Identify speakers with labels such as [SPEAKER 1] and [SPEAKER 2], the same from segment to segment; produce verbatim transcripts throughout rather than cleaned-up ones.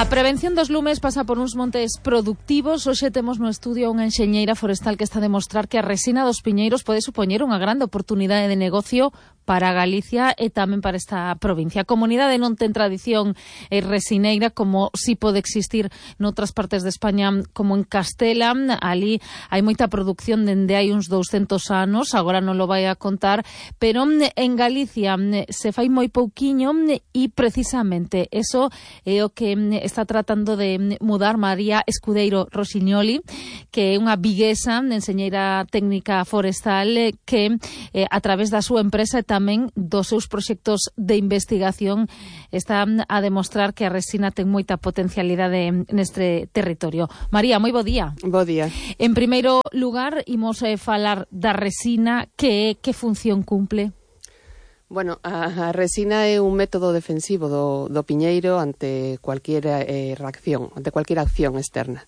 [SPEAKER 1] A prevención dos lumes pasa por uns montes productivos. Hoxe temos no estudio unha enxeñeira forestal que está a demostrar que a resina dos piñeiros pode supoñer unha grande oportunidade de negocio para Galicia e tamén para esta provincia. A comunidade non ten tradición eh, resineira como si pode existir noutras partes de España, como en Castela. Ali hai moita produción dende hai uns douscentos anos, agora non lo vai a contar, pero en Galicia se fai moi pouquiño e precisamente eso é o que está tratando de mudar María Escudeiro Rosiñoli, que é unha viguesa, enxeñeira técnica forestal, que eh, a través da súa empresa e tamén dos seus proxectos de investigación está a demostrar que a resina ten moita potencialidade neste territorio. María, moi bo día.
[SPEAKER 2] Bo día.
[SPEAKER 1] En primeiro lugar, imos eh, falar da resina, que que función cumple?
[SPEAKER 2] Bueno, a, a resina é un método defensivo do, do piñeiro ante cualquier eh, reacción, ante cualquier acción externa.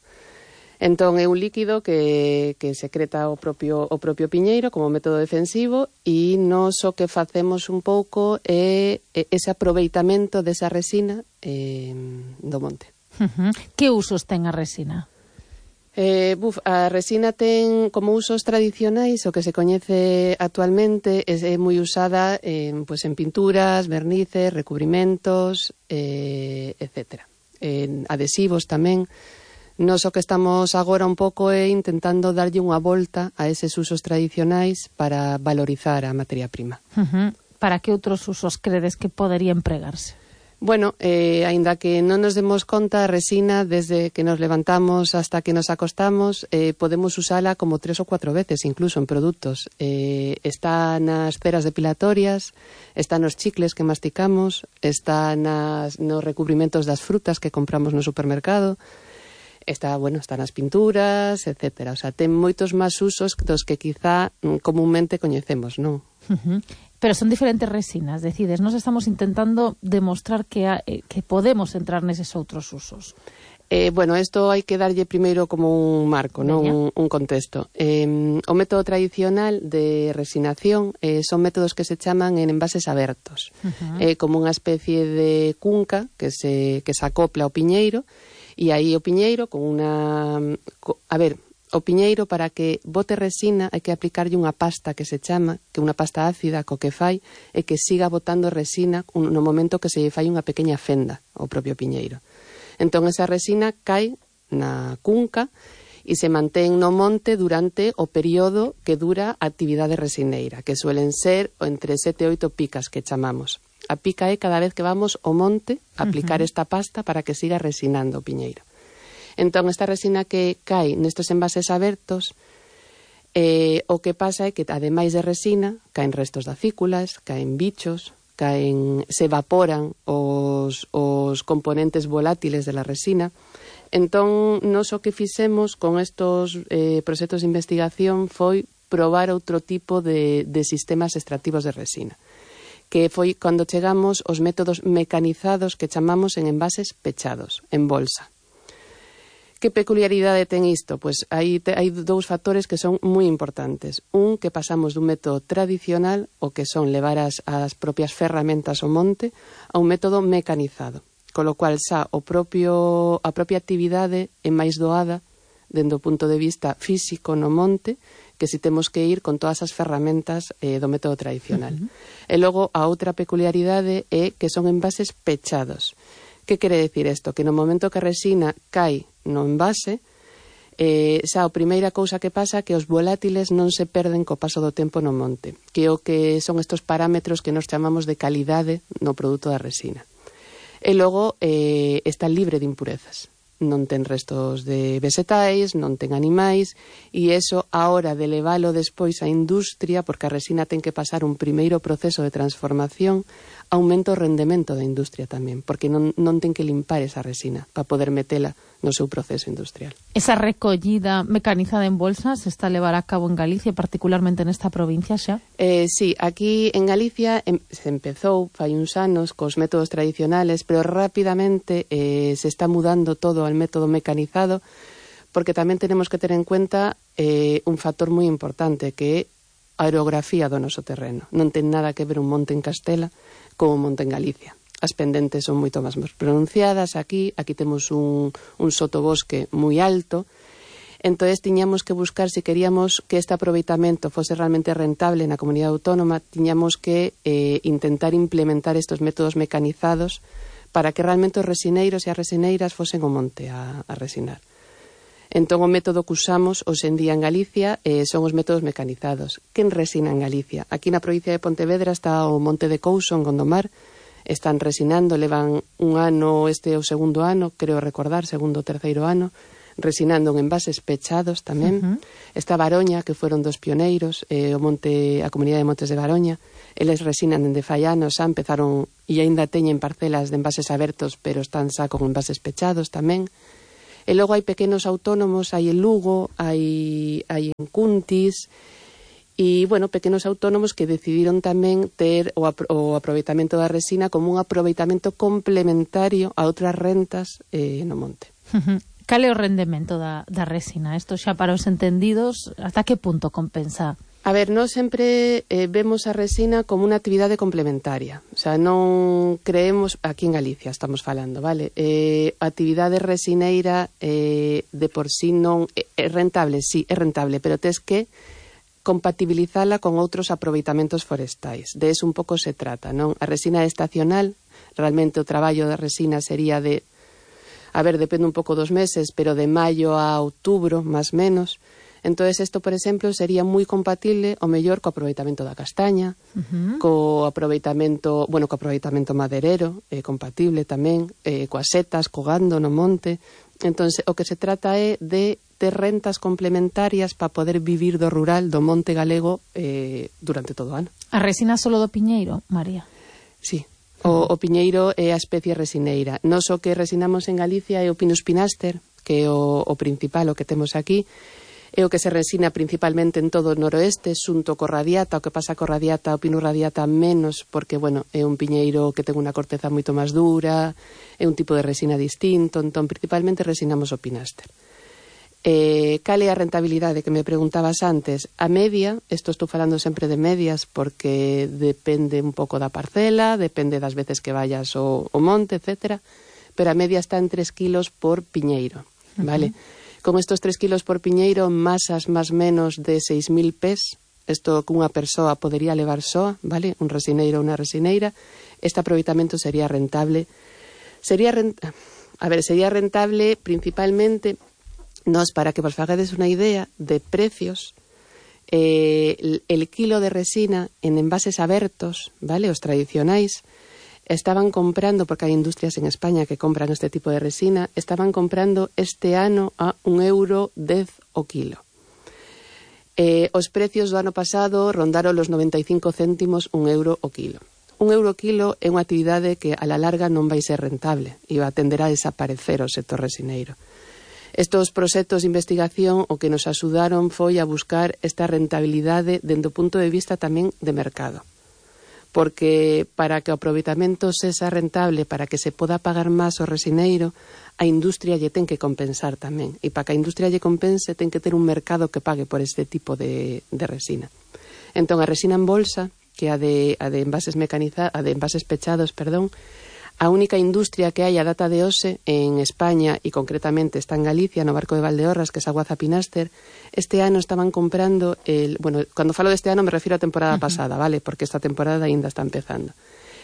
[SPEAKER 2] Entón, é un líquido que, que secreta o propio, o propio piñeiro como método defensivo e nos o que facemos un pouco é, é ese aproveitamento desa resina eh, do monte.
[SPEAKER 1] Uh-huh. Que usos ten a resina?
[SPEAKER 2] Eh, buf, a resina ten como usos tradicionais, o que se coñece actualmente é, é moi usada en, pues, en pinturas, vernices, recubrimentos, eh, etcétera. En adhesivos tamén. Nos o que estamos agora un pouco é intentando darlle unha volta a eses usos tradicionais para valorizar a materia prima.
[SPEAKER 1] Uh-huh. Para que outros usos credes que podería empregarse?
[SPEAKER 2] Bueno, eh, aínda que non nos demos conta, a resina, desde que nos levantamos hasta que nos acostamos, eh, podemos usala como tres ou cuatro veces, incluso en produtos. Eh, está nas ceras depilatorias, está nos chicles que masticamos, está nas, nos recubrimentos das frutas que compramos no supermercado, está, bueno, está nas pinturas, etcétera. O sea, ten moitos máis usos dos que quizá comúnmente coñecemos, non?
[SPEAKER 1] Uh-huh. Pero son diferentes resinas, decides, nos estamos intentando demostrar que, a, eh, que podemos entrar neses outros usos.
[SPEAKER 2] Eh, bueno, isto hai que darlle primeiro como un marco, non un, un contexto. Eh, o método tradicional de resinación eh, son métodos que se chaman en envases abertos. Uh-huh. Eh, como unha especie de cunca que se, que se acopla ao piñeiro, e aí o piñeiro con unha... A ver, o piñeiro para que bote resina hai que aplicarlle unha pasta que se chama, que é unha pasta ácida, co que fai é que siga botando resina no momento que se lle fai unha pequena fenda ao propio piñeiro. Entón esa resina cae na cunca e se mantén no monte durante o período que dura a actividade resineira, que suelen ser entre sete e oito picas que chamamos. A pica é cada vez que vamos ao monte a aplicar uh-huh. esta pasta para que siga resinando o piñeiro. Entón, esta resina que cae nestes envases abertos, eh, o que pasa é que, ademais de resina, caen restos de acículas, caen bichos, caen, se evaporan os, os componentes volátiles de la resina. Entón, nos o que fixemos con estos eh, proxectos de investigación foi probar outro tipo de, de sistemas extractivos de resina, que foi cando chegamos aos métodos mecanizados que chamamos en envases pechados, en bolsa. Que peculiaridade ten isto? Pois hai, te, hai dous factores que son moi importantes. Un, que pasamos dun método tradicional, o que son levar as, as propias ferramentas ao monte, a un método mecanizado. Con lo cual, xa, o propio, a propia actividade é máis doada dende o punto de vista físico no monte, que si temos que ir con todas as ferramentas eh, do método tradicional. Uh-huh. E logo, a outra peculiaridade é que son envases pechados. Que quere decir isto? Que no momento que a resina cae no envase, eh, xa a primeira cousa que pasa é que os volátiles non se perden co paso do tempo no monte, que é o que son estos parámetros que nos chamamos de calidade no produto da resina. E logo eh, está libre de impurezas. Non ten restos de vegetais, non ten animais, e iso, a hora de levalo despois á industria, porque a resina ten que pasar un primeiro proceso de transformación, aumenta o rendemento da industria tamén, porque non, non ten que limpar esa resina para poder metela no seu proceso industrial.
[SPEAKER 1] Esa recollida mecanizada en bolsas se está a levar a cabo en Galicia, particularmente nesta provincia xa?
[SPEAKER 2] Eh, sí, aquí en Galicia em, se empezou fai uns anos cos métodos tradicionales, pero rapidamente eh, se está mudando todo al método mecanizado, porque tamén tenemos que ter en cuenta eh, un factor moi importante, que é a orografía do noso terreno. Non ten nada que ver un monte en Castela como un monte en Galicia. as pendentes son moito máis pronunciadas aquí, aquí temos un, un sotobosque moi alto. Entón, tiñamos que buscar, se queríamos que este aproveitamento fose realmente rentable na comunidade autónoma, tiñamos que eh, intentar implementar estes métodos mecanizados para que realmente os resineiros e as resineiras fosen ao monte a, a resinar. Entón, o método que usamos hoxe en día en Galicia eh, son os métodos mecanizados. Quen resina en Galicia? Aquí na provincia de Pontevedra está o Monte de Couso, en Gondomar. Están resinando, levan un ano, este é o segundo ano, creo recordar, segundo ou terceiro ano, resinando en envases pechados tamén. Uh-huh. Está Baroña, que foron dos pioneiros, eh, o monte, a comunidade de Montes de Baroña. Eles resinan dende fai anos, xa empezaron e aínda teñen parcelas de envases abertos, pero están xa con envases pechados tamén. E logo hai pequenos autónomos, hai en Lugo, hai, hai en Cuntis, e, bueno, pequenos autónomos que decidiron tamén ter o, apro o aproveitamento da resina como un aproveitamento complementario a outras rentas eh, no monte.
[SPEAKER 1] Cal é o rendemento da, da resina? Isto xa para os entendidos, hasta que punto compensa?
[SPEAKER 2] A ver, nós sempre eh, vemos a resina como unha actividade complementaria. O sea, non creemos, aquí en Galicia estamos falando, vale? Eh, a actividade resineira eh, de por sí non é rentable, sí, é rentable, pero tes que compatibilizala con outros aproveitamentos forestais. De eso un pouco se trata, non? A resina estacional, realmente o traballo da resina sería de, a ver, depende un pouco dos meses, pero de maio a outubro, máis menos. Entón, isto, por exemplo, sería moi compatible o mellor co aproveitamento da castaña, uh-huh. co aproveitamento, bueno, co aproveitamento maderero, é eh, compatible tamén, eh, coas setas, co gando no monte. Entón, o que se trata é de ter rentas complementarias para poder vivir do rural, do monte galego, eh, durante todo o ano.
[SPEAKER 1] A resina solo do piñeiro, María?
[SPEAKER 2] Sí. O, o piñeiro é a especie resineira. Nos o que resinamos en Galicia é o Pinus pinaster, que é o, o principal, o que temos aquí. É o que se resina principalmente en todo o noroeste, xunto co radiata. O que pasa co radiata, o Pinus radiata menos, porque, bueno, é un piñeiro que ten unha corteza moito máis dura, é un tipo de resina distinto, entón principalmente resinamos o pinaster. Eh, cal é a rentabilidade que me preguntabas antes? A media, isto estou falando sempre de medias, porque depende un pouco da parcela, depende das veces que vayas ao, ao monte, etcétera, pero a media está en tres kilos por piñeiro, vale? Uh-huh. Con estos tres kilos por piñeiro, masas máis menos de seis mil pés, isto que unha persoa podería levar soa, vale? Un resineiro ou unha resineira, este aproveitamento sería rentable. Sería rent... A ver, sería rentable principalmente, nos, para que vos fagades unha idea de precios, eh, el, el kilo de resina en envases abertos, vale? Os tradicionais, estaban comprando, porque hai industrias en España que compran este tipo de resina, estaban comprando este ano a un euro dez o kilo. Eh, os precios do ano pasado rondaron los noventa e cinco céntimos un euro o kilo. Un euro o kilo é unha actividade que a la larga non vai ser rentable e va a tender a desaparecer o sector resineiro. Estos proxectos de investigación o que nos axudaron foi a buscar esta rentabilidade dende o punto de vista tamén de mercado. Porque para que o aproveitamento sexa rentable, para que se poda pagar máis o resineiro, a industria lle ten que compensar tamén. E para que a industria lle compense, ten que ter un mercado que pague por este tipo de, de resina. Entón, a resina en bolsa, que a de, a de envases mecanizados, a de envases pechados, perdón, a única industria que hai a data de hoxe en España, e concretamente está en Galicia, no Barco de Valdeorras, que é Aguaza Pinaster, este ano estaban comprando, el, bueno, cando falo deste ano me refiro á temporada uh-huh. pasada, vale, porque esta temporada aínda está empezando.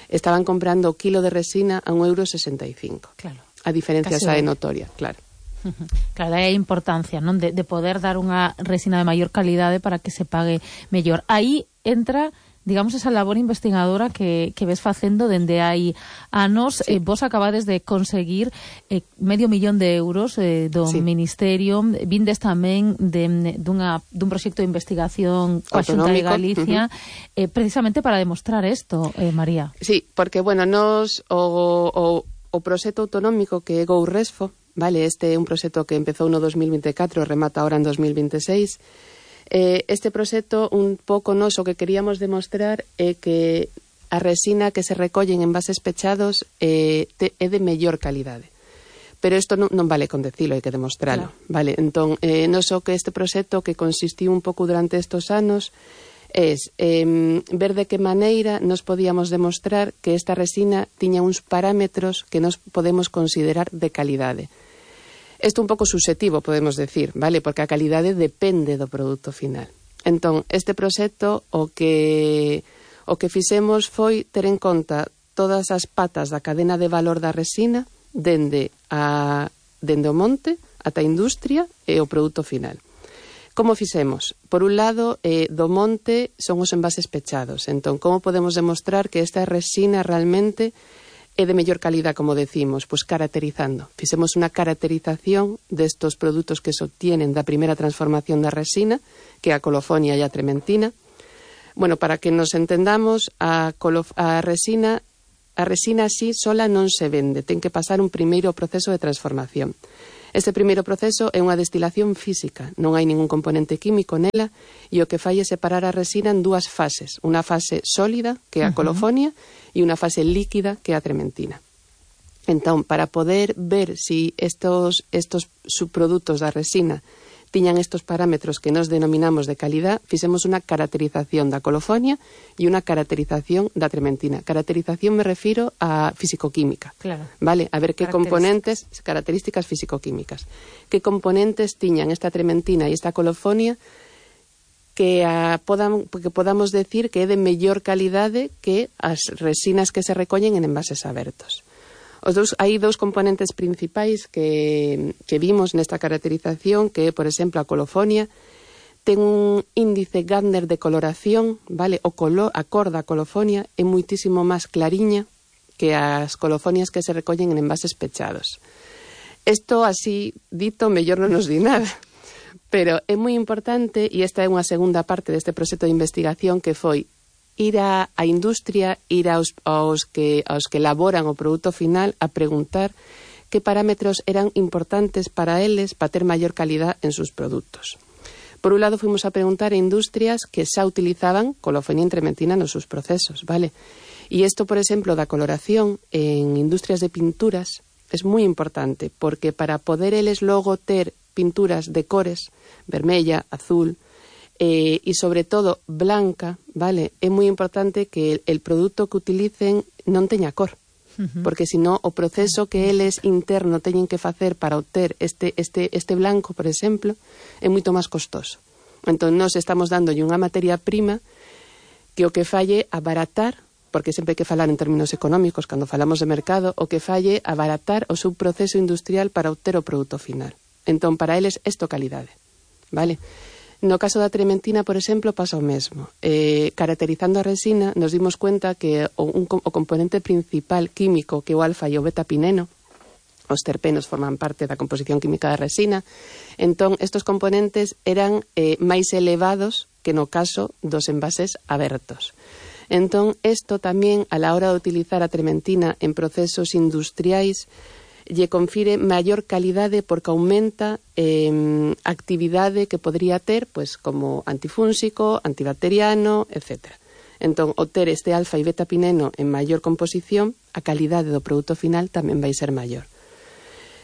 [SPEAKER 2] Estaban comprando o kilo de resina a un euro sesenta e cinco.
[SPEAKER 1] Claro.
[SPEAKER 2] A diferencia xa é notoria, claro.
[SPEAKER 1] Uh-huh. Claro, aí a importancia, non, de, de poder dar unha resina de maior calidade para que se pague mellor. Aí entra, digamos, esa labor investigadora que, que ves facendo dende hai anos. Sí. Eh, vos acabades de conseguir eh, medio millón de euros eh, do sí. Ministerio, vindes tamén de, dunha, dun proxecto de investigación coa Xunta de Galicia, uh-huh. eh, precisamente para demostrar isto, eh, María.
[SPEAKER 2] Sí, porque, bueno, nos o, o, o proxecto autonómico que é GoResfo, vale, este é un proxecto que empezou no dos mil vinte e catro e remata ahora en dos mil vinte e seis. Eh, este proxecto, un pouco nos o que queríamos demostrar é que a resina que se recolle en envases pechados eh, te, é de mellor calidade. Pero isto non, non vale con decilo, hai que demostralo. Claro. Vale, entón, eh, nos o que este proxecto que consistiu un pouco durante estos anos es eh, ver de que maneira nos podíamos demostrar que esta resina tiña uns parámetros que nos podemos considerar de calidade. Isto un pouco subjetivo, podemos decir, vale? Porque a calidade depende do produto final. Entón, este proxecto o que o que fixemos foi ter en conta todas as patas da cadena de valor da resina dende a dende o monte ata a industria e o produto final. Como fixemos? Por un lado, eh, do monte son os envases pechados. Entón, como podemos demostrar que esta resina realmente é de mellor calidad, como decimos? Pois caracterizando. Fixemos unha caracterización destos produtos que se obtienen da primeira transformación da resina, que é a colofonia e a trementina. Bueno, para que nos entendamos, a, a resina a resina así sola non se vende, ten que pasar un primeiro proceso de transformación. Este primeiro proceso é unha destilación física, non hai ningún componente químico nela e o que fai é separar a resina en dúas fases, unha fase sólida, que é a colofonia, uh-huh. e unha fase líquida, que é a trementina. Entón, para poder ver se si estos, estos subprodutos da resina tiñan estos parámetros que nos denominamos de calidad, fixemos unha caracterización da colofonia e unha caracterización da trementina. Caracterización me refiro a fisicoquímica.
[SPEAKER 1] Claro.
[SPEAKER 2] Vale, a ver que componentes, características fisicoquímicas. Que componentes tiñan esta trementina e esta colofonia que, a, podam, que podamos decir que é de mellor calidade que as resinas que se recollen en envases abertos. Os dous, hai dous componentes principais que, que vimos nesta caracterización, que é, por exemplo, a colofonia, ten un índice Gardner de coloración, vale? O color, a cor da colofonia é muitísimo máis clariña que as colofonias que se recollen en envases pechados. Isto, así dito, mellor non nos di nada, pero é moi importante, e esta é unha segunda parte deste proxecto de investigación, que foi ir a, a industria, ir aos, aos, que, aos que elaboran o produto final a preguntar que parámetros eran importantes para eles para ter maior calidad en sus produtos. Por un lado, fuimos a preguntar a industrias que xa utilizaban colofonía en trementina nos seus procesos, vale? E isto, por exemplo, da coloración en industrias de pinturas é moi importante, porque para poder eles logo ter pinturas de cores, vermella, azul, Eh, e sobre todo blanca, vale, é moi importante que el, el produto que utilicen non teña cor, uh-huh. porque senón o proceso que eles interno teñen que facer para obter este, este, este blanco, por exemplo, é moito máis costoso. Entón, nós estamos dándolle unha materia prima que o que falle abaratar, porque sempre hai que falar en términos económicos cando falamos de mercado, o que falle abaratar o seu proceso industrial para obter o produto final. Entón, para eles, isto calidade, vale? No caso da trementina, por exemplo, pasa o mesmo. Eh, caracterizando a resina, nos dimos cuenta que o, un, o componente principal químico, que o alfa e o beta-pineno, os terpenos forman parte da composición química da resina, entón estos componentes eran eh, máis elevados que no caso dos envases abertos. Entón, isto tamén, a la hora de utilizar a trementina en procesos industriais, lle confire maior calidade porque aumenta eh, actividade que podría ter, pois, como antifúnsico, antibacteriano, etcétera. Entón, o ter este alfa e beta-pineno en maior composición, a calidade do produto final tamén vai ser maior.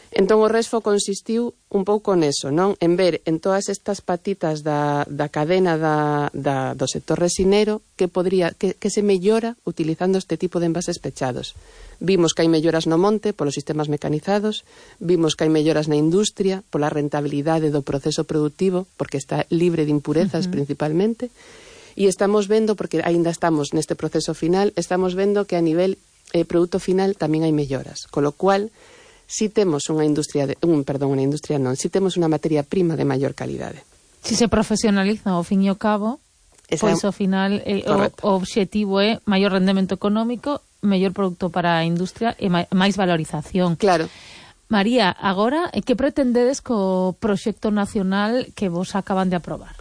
[SPEAKER 2] Entón, o resfo consistiu un pouco neso, non? En ver en todas estas patitas da, da cadena da, da, do sector resinero que, podría, que, que se mellora utilizando este tipo de envases pechados. Vimos que hai melloras no monte polos sistemas mecanizados, vimos que hai melloras na industria pola rentabilidade do proceso productivo, porque está libre de impurezas uh-huh. principalmente, e estamos vendo, porque aínda estamos neste proceso final, estamos vendo que a nivel eh, produto final tamén hai melloras, con lo cual si temos unha industria, de, un, perdón, unha industria non, si temos unha materia prima de maior calidade.
[SPEAKER 1] Si se profesionaliza ao fin e ao cabo, Esa pois ao final eh, o, o obxectivo é maior rendemento económico, mellor produto para a industria e máis valorización.
[SPEAKER 2] Claro.
[SPEAKER 1] María, agora, que pretendedes co proxecto nacional que vos acaban de aprobar?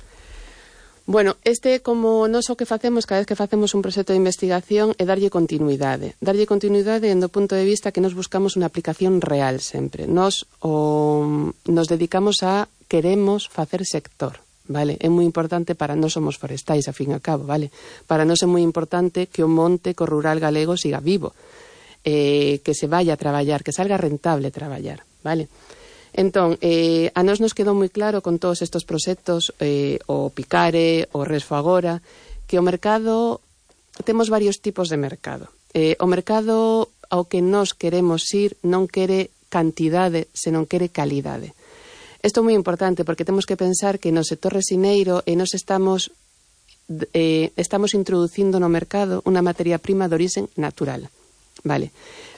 [SPEAKER 2] Bueno, este, como nós o que facemos cada vez que facemos un proxecto de investigación é darlle continuidade. Darlle continuidade do punto de vista que nos buscamos unha aplicación real sempre. Nos, o, nos dedicamos a queremos facer sector, vale? É moi importante para nós somos forestais, a fin e ao cabo, vale? Para nós é moi importante que o monte, que o rural galego siga vivo, eh, que se vaya a traballar, que salga rentable traballar, vale? Entón, eh, a nós nos quedou moi claro con todos estes proxectos, eh, o Picare, o Resfo Agora, que o mercado, temos varios tipos de mercado. Eh, o mercado ao que nós queremos ir non quere cantidade, senón quere calidade. Isto é moi importante porque temos que pensar que no sector resineiro e nos estamos eh, estamos introducindo no mercado unha materia prima de orixen natural, vale?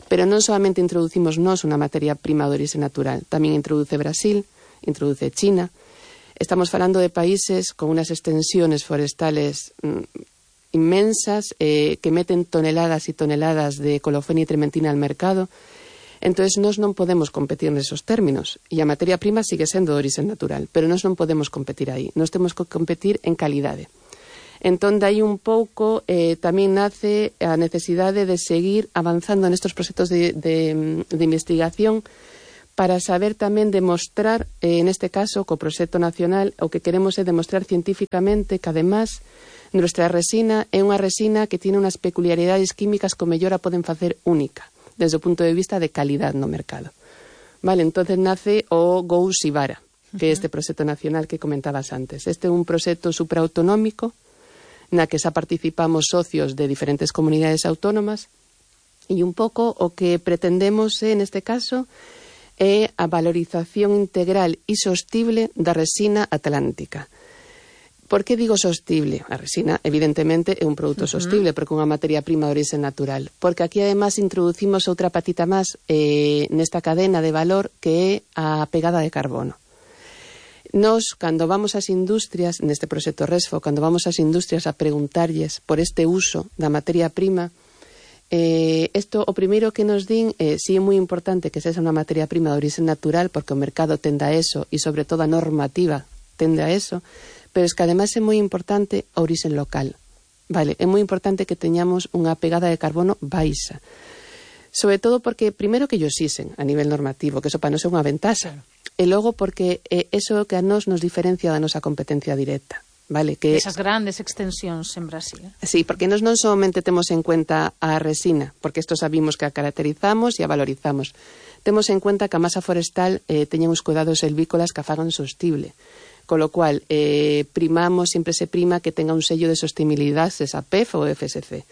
[SPEAKER 2] Pero non solamente introducimos nós unha materia prima de orixen natural, tamén introduce Brasil, introduce China. Estamos falando de países con unas extensiones forestales mmm, inmensas, eh, que meten toneladas e toneladas de colofón y trementina al mercado. Entonces, nós non podemos competir nesos términos. E a materia prima sigue sendo de origen natural, pero nós non podemos competir aí. Nós temos que competir en calidade. Entón, dai un pouco, eh, tamén nace a necesidade de seguir avanzando nestos proxectos de, de, de investigación para saber tamén demostrar, eh, neste caso, co proxecto nacional, o que queremos é demostrar científicamente que, además, nuestra resina é unha resina que tiene unas peculiaridades químicas que o mellor a poden facer única, desde o punto de vista de calidad no mercado. Vale, entonces nace o Go Sibara, que é este proxecto nacional que comentabas antes. Este é un proxecto supraautonómico na que xa participamos socios de diferentes comunidades autónomas e un pouco o que pretendemos en este caso é a valorización integral e sostible da resina atlántica. Por que digo sostible? A resina, evidentemente, é un produto uh-huh. sostible, porque é unha materia prima de origen natural. Porque aquí, además, introducimos outra patita máis eh, nesta cadena de valor que é a pegada de carbono. Nos, cando vamos ás industrias, neste proxecto Resfo, cando vamos ás industrias a preguntarlles por este uso da materia prima, eh, esto, o primeiro que nos din é, eh, si é moi importante que sexa unha materia prima de origen natural, porque o mercado tende a eso, e sobre todo a normativa tende a eso, pero es que además é moi importante a origen local, vale? É moi importante que teñamos unha pegada de carbono baixa, sobre todo porque, primeiro, que ellos xisen a nivel normativo, que eso para nos é unha ventaxa, e logo porque eh, eso é o que a nos nos diferencia da nosa competencia directa, vale? Que
[SPEAKER 1] esas grandes extensións en Brasil.
[SPEAKER 2] Sí, porque nos non somente temos en cuenta a resina, porque isto sabimos que a caracterizamos e a valorizamos. Temos en cuenta que a masa forestal eh, teña uns cuidados silvícolas que a fagan sostible. Con lo cual, eh, primamos, siempre se prima que tenga un sello de sostenibilidade, esa P E F ou F S C.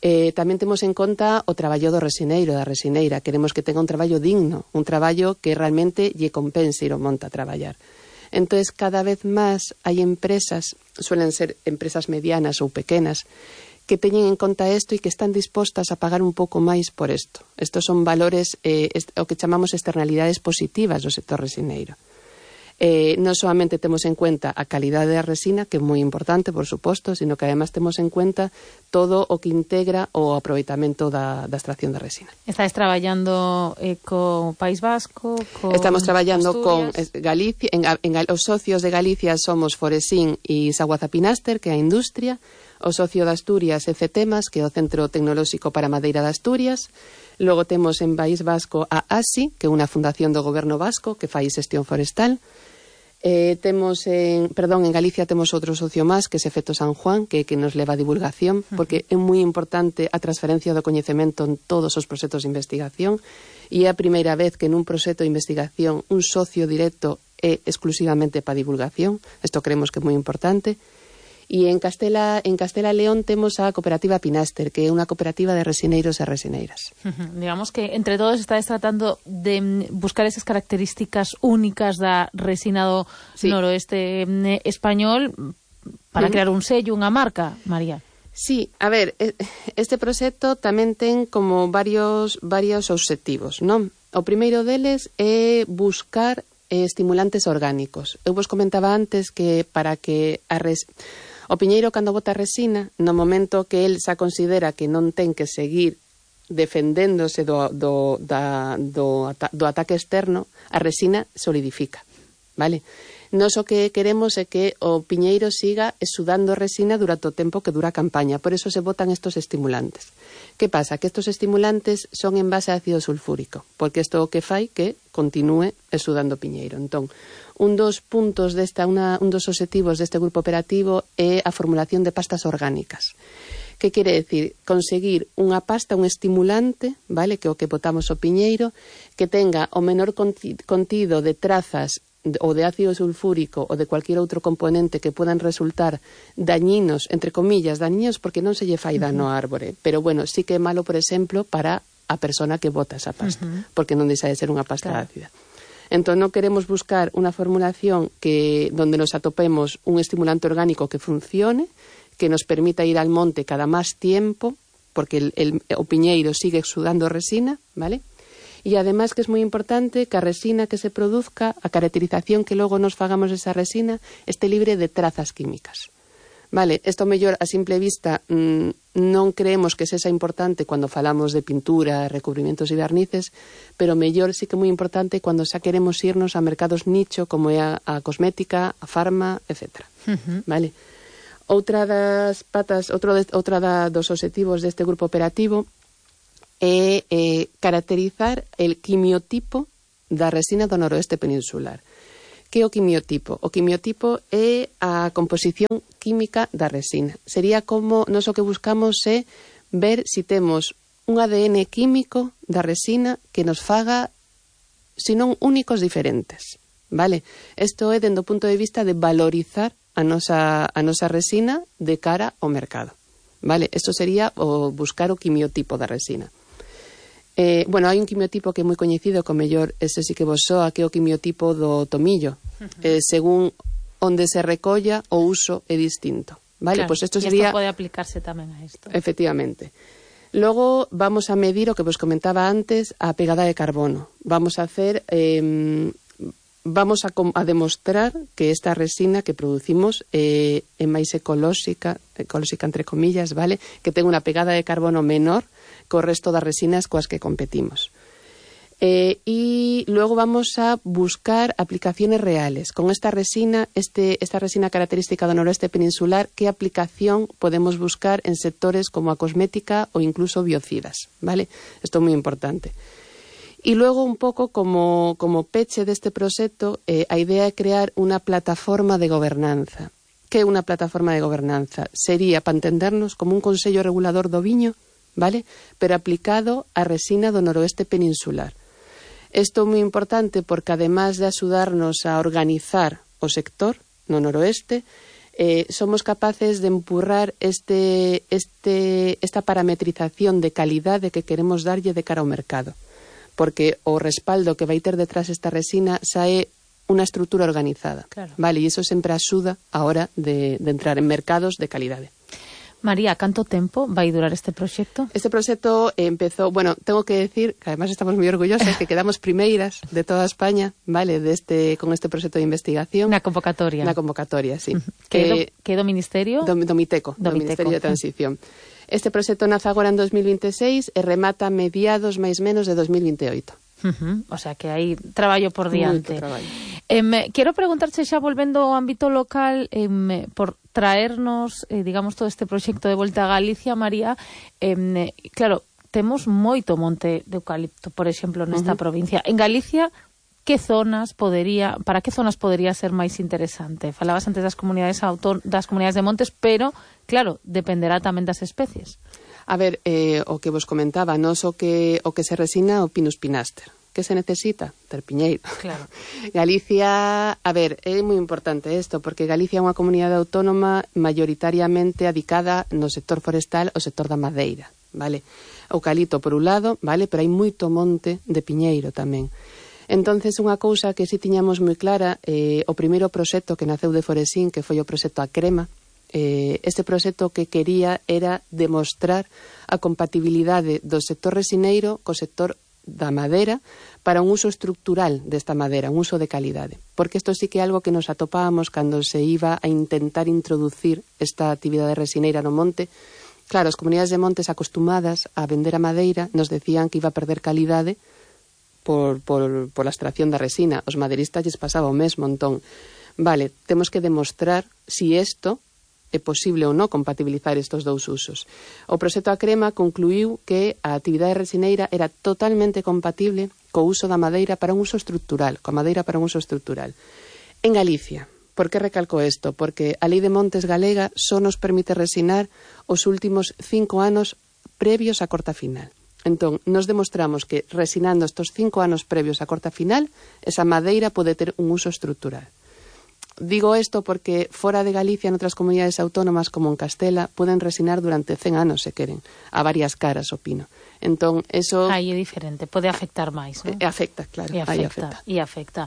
[SPEAKER 2] Eh, tamén temos en conta o traballo do resineiro, da resineira. Queremos que tenga un traballo digno, un traballo que realmente lle compense ir o monte a traballar. Entonces, cada vez máis hai empresas, suelen ser empresas medianas ou pequenas, que teñen en conta isto e que están dispostas a pagar un pouco máis por isto. Estos son valores, eh, est- o que chamamos externalidades positivas do sector resineiro. Eh, non solamente temos en cuenta a calidade da resina, que é moi importante, por suposto, sino que además temos en cuenta todo o que integra o aproveitamento da, da extracción da resina.
[SPEAKER 1] Estáis traballando eh, co País Vasco, con
[SPEAKER 2] Estamos traballando
[SPEAKER 1] Asturias.
[SPEAKER 2] con Galicia, en, en, os socios de Galicia somos Foresín e Saguazapinaster, que é a industria, o socio de Asturias é CETEMAS, que é o Centro Tecnolóxico para Madeira de Asturias. Logo temos en País Vasco a ASI, que é unha fundación do goberno vasco que fai xestión forestal. Eh, temos en, perdón, en Galicia temos outro socio máis, que é Efecto San Juan, que, que nos leva a divulgación, porque é moi importante a transferencia do coñecemento en todos os proxectos de investigación, e é a primeira vez que nun proxecto de investigación un socio directo é exclusivamente para divulgación. Isto creemos que é moi importante. E en Castela, en Castela León temos a cooperativa Pinaster, que é unha cooperativa de resineiros e resineiras.
[SPEAKER 1] Uh-huh. Digamos que entre todos estáis tratando de buscar esas características únicas da resina do sí. noroeste español para uh-huh. crear un sello, unha marca, María.
[SPEAKER 2] Sí, a ver, este proxecto tamén ten como varios, varios obxectivos, non? O primeiro deles é buscar eh, estimulantes orgánicos. Eu vos comentaba antes que para que a res... O piñeiro, cando bota resina, no momento que el xa considera que non ten que seguir defendéndose do, do, da, do, do ataque externo, a resina solidifica, vale? Nos o que queremos é que o piñeiro siga exudando resina durante o tempo que dura a campaña, por eso se botan estos estimulantes. Que pasa? Que estos estimulantes son en base a ácido sulfúrico, porque isto o que fai que continúe exudando o piñeiro. Entón, un dos puntos desta, una, un dos obxectivos deste grupo operativo é a formulación de pastas orgánicas. Que quere decir? Conseguir unha pasta, un estimulante, vale, que é o que botamos o piñeiro, que tenga o menor contido de trazas ou de ácido sulfúrico ou de cualquier outro componente que puedan resultar dañinos, entre comillas, dañinos porque non se lle fai dano á árbore, pero bueno, sí que é malo, por exemplo, para a persona que bota esa pasta, uh-huh. porque non deixa de ser unha pasta claro. ácida. Entón, non queremos buscar unha formulación que donde nos atopemos un estimulante orgánico que funcione, que nos permita ir al monte cada máis tiempo, porque el, el, o piñeiro sigue exudando resina, ¿vale? E además que es moi importante que a resina que se produzca, a caracterización que logo nos fagamos esa resina, esté libre de trazas químicas. Vale, isto mellor a simple vista mmm, non creemos que sexa importante cando falamos de pintura, recubrimientos e barnices, pero mellor sí que é moi importante cando xa queremos irnos a mercados nicho como é a, a cosmética, a farma, etcétera. Uh-huh. Vale. Outra das patas, outro de, outra da, dos obxectivos deste grupo operativo é eh, caracterizar el quimiotipo da resina do noroeste peninsular. Que é o quimiotipo? O quimiotipo é a composición química da resina. Sería como, nos o que buscamos é ver se si temos un A D N químico da resina que nos faga, se non únicos, diferentes. Vale? Isto é dende o punto de vista de valorizar a nosa, a nosa resina de cara ao mercado. Vale? Isto sería o buscar o quimiotipo da resina. Eh, bueno, hai un quimiotipo que é moi coñecido, que o mellor ese sí que vos soa, que é o quimiotipo do tomillo. Uh-huh. Eh, según onde se recolla, o uso é distinto. Vale,
[SPEAKER 1] claro,
[SPEAKER 2] pues esto
[SPEAKER 1] y
[SPEAKER 2] sería...
[SPEAKER 1] esto pode aplicarse tamén a isto.
[SPEAKER 2] Efectivamente. Logo vamos a medir o que vos comentaba antes, a pegada de carbono. Vamos a hacer... Eh, vamos a, a demostrar que esta resina que producimos eh, é máis ecolóxica, ecolóxica entre comillas, vale? Que ten unha pegada de carbono menor co resto das resinas coas que competimos. Eh, e logo vamos a buscar aplicaciones reales. Con esta resina, este, esta resina característica do noroeste peninsular, que aplicación podemos buscar en sectores como a cosmética ou incluso biocidas, vale? Isto é moi importante. E logo, un pouco como, como peche deste proxecto, eh, a idea é crear unha plataforma de gobernanza. Que é unha plataforma de gobernanza? Sería, para entendernos, como un consello regulador do viño, vale? Pero aplicado á resina do noroeste peninsular. Isto é moi importante porque, además de axudarnos a organizar o sector no noroeste, eh, somos capaces de empurrar este, este, esta parametrización de calidade que queremos darlle de cara ao mercado. Porque o respaldo que vai ter detrás esta resina xa é unha estrutura organizada. Claro. Vale, e iso sempre axuda a hora de, de entrar en mercados de calidade.
[SPEAKER 1] María, canto tempo vai durar este proxecto?
[SPEAKER 2] Este proxecto empezou, bueno, tengo que decir que además estamos moi orgullosas que quedamos primeiras de toda España, vale, deste con este proxecto de investigación.
[SPEAKER 1] Na convocatoria.
[SPEAKER 2] Na convocatoria, sí.
[SPEAKER 1] Que do, que do Ministerio?
[SPEAKER 2] Do, do Miteco, do, do Ministerio de Transición. Este proxecto nace agora en dos mil veintiséis e remata mediados máis menos de dos mil veintioito.
[SPEAKER 1] Uh-huh. O sea que hai traballo por diante.
[SPEAKER 2] Moito traballo.
[SPEAKER 1] Eh, quero preguntarche xa volvendo ao ámbito local, eh, por traernos, eh, digamos, todo este proxecto de volta a Galicia, María. Eh, claro, temos moito monte de eucalipto, por exemplo, nesta uh-huh. provincia. En Galicia, que zonas podería, para que zonas podería ser máis interesante? Falabas antes das comunidades autón- das comunidades de montes, pero, claro, dependerá tamén das especies.
[SPEAKER 2] A ver, eh, o que vos comentaba, nos o que, o que se resina o Pinus pinaster. Que se necesita? Ter piñeiro.
[SPEAKER 1] Claro.
[SPEAKER 2] Galicia, a ver, é moi importante isto, porque Galicia é unha comunidade autónoma maioritariamente adicada no sector forestal ao sector da madeira, vale? Eucalipto por un lado, vale? Pero hai moito monte de piñeiro tamén. Entonces, unha cousa que si tiñamos moi clara, eh, o primeiro proxecto que naceu de Foresín, que foi o proxecto A Crema, eh, este proxecto que quería era demostrar a compatibilidade do sector resineiro co sector da madeira para un uso estructural desta madeira, un uso de calidade. Porque isto sí que é algo que nos atopábamos cando se iba a intentar introducir esta actividade resineira no monte. Claro, as comunidades de montes acostumadas a vender a madeira nos decían que iba a perder calidade por, por, por la extracción da resina. Os madeiristas lles pasaba o mesmo, entón, vale, temos que demostrar si isto é posible ou non compatibilizar estes dous usos. O proxecto A Crema concluiu que a actividade resineira era totalmente compatible co uso da madeira para un uso estrutural, coa madeira para un uso estrutural. En Galicia, por que recalco isto? Porque a Lei de Montes galega só nos permite resinar os últimos cinco anos previos á corta final. Entón, nos demostramos que resinando estos cinco anos previos á corta final, esa madeira pode ter un uso estrutural. Digo isto porque fora de Galicia, en outras comunidades autónomas como en Castela, poden resinar durante cen anos, se queren, a varias caras o pino. Entón, eso...
[SPEAKER 1] Aí é diferente, pode afectar máis, non?
[SPEAKER 2] E afecta, claro,
[SPEAKER 1] e afecta,
[SPEAKER 2] aí afecta.
[SPEAKER 1] E afecta.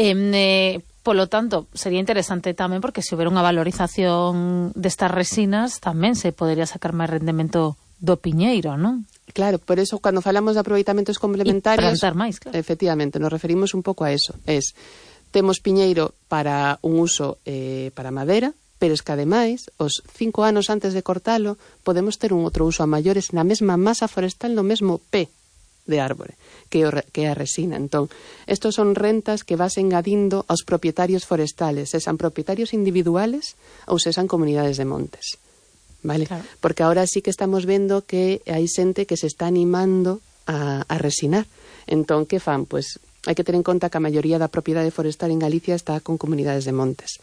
[SPEAKER 1] Eh, eh, polo tanto, sería interesante tamén, porque se houbera unha valorización destas resinas, tamén se podería sacar máis rendemento do piñeiro, non?
[SPEAKER 2] Claro, por eso, cando falamos de aproveitamentos complementarios...
[SPEAKER 1] E plantar máis, claro.
[SPEAKER 2] Efectivamente, nos referimos un pouco a eso. Es... Temos piñeiro para un uso eh, para madera, pero es que ademais, os cinco anos antes de cortalo, podemos ter un outro uso a maiores na mesma masa forestal, no mesmo pé de árbore, que, o, que é a resina. Entón, estos son rentas que vas engadindo aos propietarios forestales, se san propietarios individuales ou se san comunidades de montes. Vale? Claro. Porque ahora sí que estamos vendo que hai xente que se está animando a, a resinar. Entón, que fan? Pois... Hai que ter en conta que a maioría da propiedade forestal en Galicia está con comunidades de montes.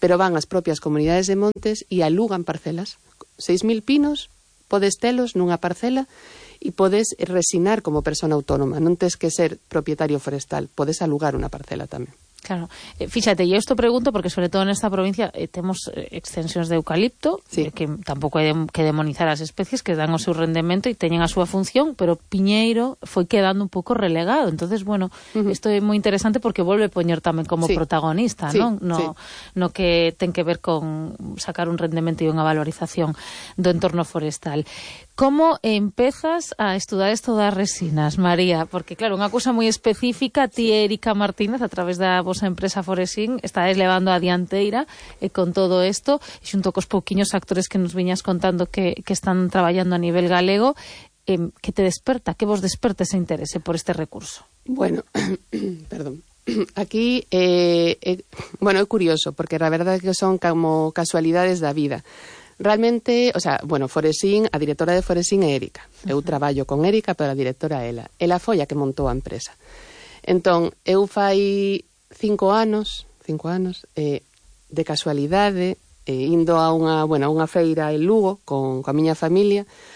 [SPEAKER 2] Pero van as propias comunidades de montes e alugan parcelas. seis mil pinos, podes telos nunha parcela e podes resinar como persona autónoma. Non tes que ser propietario forestal, podes alugar unha parcela tamén.
[SPEAKER 1] Claro, eh, fíxate, e isto pregunto porque sobre todo nesta provincia eh, temos eh, extensións de eucalipto,
[SPEAKER 2] sí. eh,
[SPEAKER 1] que tampouco hai de, que demonizar as especies que dan o seu rendemento e teñen a súa función, pero piñeiro foi quedando un pouco relegado. Entonces, bueno, isto uh-huh. é moi interesante porque volve a poñer tamén como sí. protagonista,
[SPEAKER 2] sí.
[SPEAKER 1] non? No,
[SPEAKER 2] sí.
[SPEAKER 1] no que ten que ver con sacar un rendemento e unha valorización do entorno forestal. Como empezas a estudar isto das resinas, María? Porque, claro, unha cousa moi específica, ti e Erika Martínez, a través da vosa empresa Foresín, estáis levando a dianteira e con todo isto, e xunto cos pouquiños actores que nos viñas contando que, que están traballando a nivel galego, eh, que te desperta, que vos desperta ese interese por este recurso?
[SPEAKER 2] Bueno, perdón. Aquí, eh, eh, bueno, é curioso, porque a verdade é que son como casualidades da vida. Realmente, o sea, bueno, Foresín, a directora de Foresín é Erika. Eu uh-huh. traballo con Erika, pero a directora é ela. Ela foi a que montou a empresa. Entón, eu fai cinco anos, cinco anos, eh, de casualidade, eh, indo a unha, bueno, a unha feira en Lugo con, con a miña familia,